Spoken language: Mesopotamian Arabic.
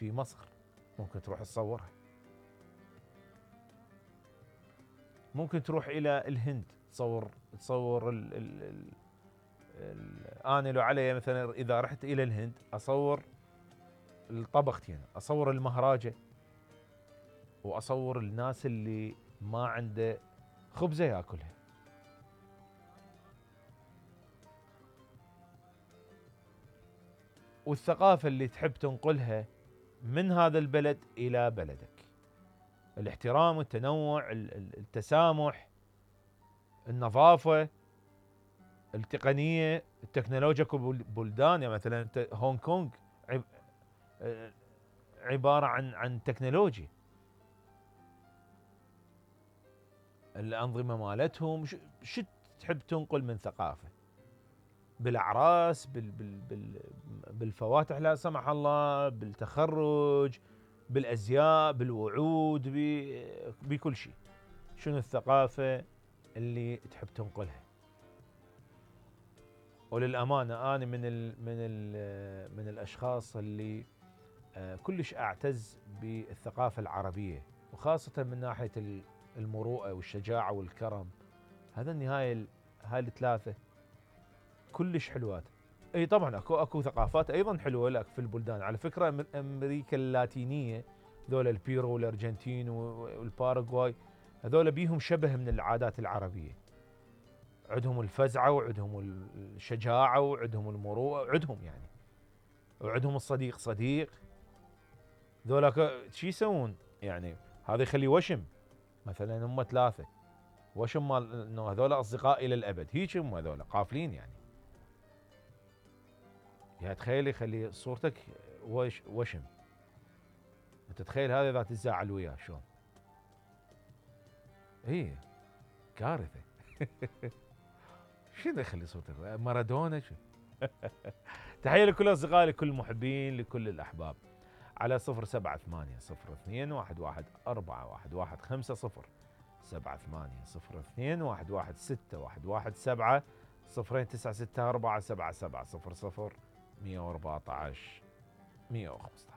في مصر ممكن تروح تصورها. ممكن تروح الى الهند تصور انا لو علي مثلا اذا رحت الى الهند اصور الطبختين، اصور المهراجة واصور الناس اللي ما عنده خبزة ياكلها. والثقافة اللي تحب تنقلها من هذا البلد الى بلدك، الاحترام والتنوع، التسامح، النظافة، التقنية، التكنولوجيا. بلدان يعني مثلا هونغ كونغ عبارة عن تكنولوجيا، الأنظمة مالتهم. شو تحب تنقل من ثقافة بالأعراس، بالفواتح لا سمح الله، بالتخرج، بالأزياء، بالوعود، بكل شيء. شنو الثقافة اللي تحب تنقلها؟ وللأمانة أنا من الأشخاص اللي كلش أعتز بالثقافة العربية، وخاصة من ناحية المروءة والشجاعة والكرم. هذا النهاية هاي الثلاثة كلش حلوات. اي طبعا اكو ثقافات ايضا حلوه لك في البلدان. على فكره امريكا اللاتينيه ذولا البيرو والارجنتين والباراغواي هذول بيهم شبه من العادات العربيه، عندهم الفزعه وعندهم الشجاعه وعندهم المروءه وعندهم يعني، وعندهم الصديق صديق. ذولا شو يسوون يعني؟ هذا يخلي وشم مثلا، هم ثلاثه وشم مال انه هذول اصدقاء الى الابد، هيك هم هذول قافلين يعني. يعني تخيل يخلي صورتك وشم، انت تخيل هذا اذا تتزاعل وياه شلون؟ ايه كارثه. شنو يخلي صورتك مارادونا شو؟ تحيه لكل اصدقائي، لكل المحبين، لكل الاحباب. على 07802114115 07802116117 09647700 114 115.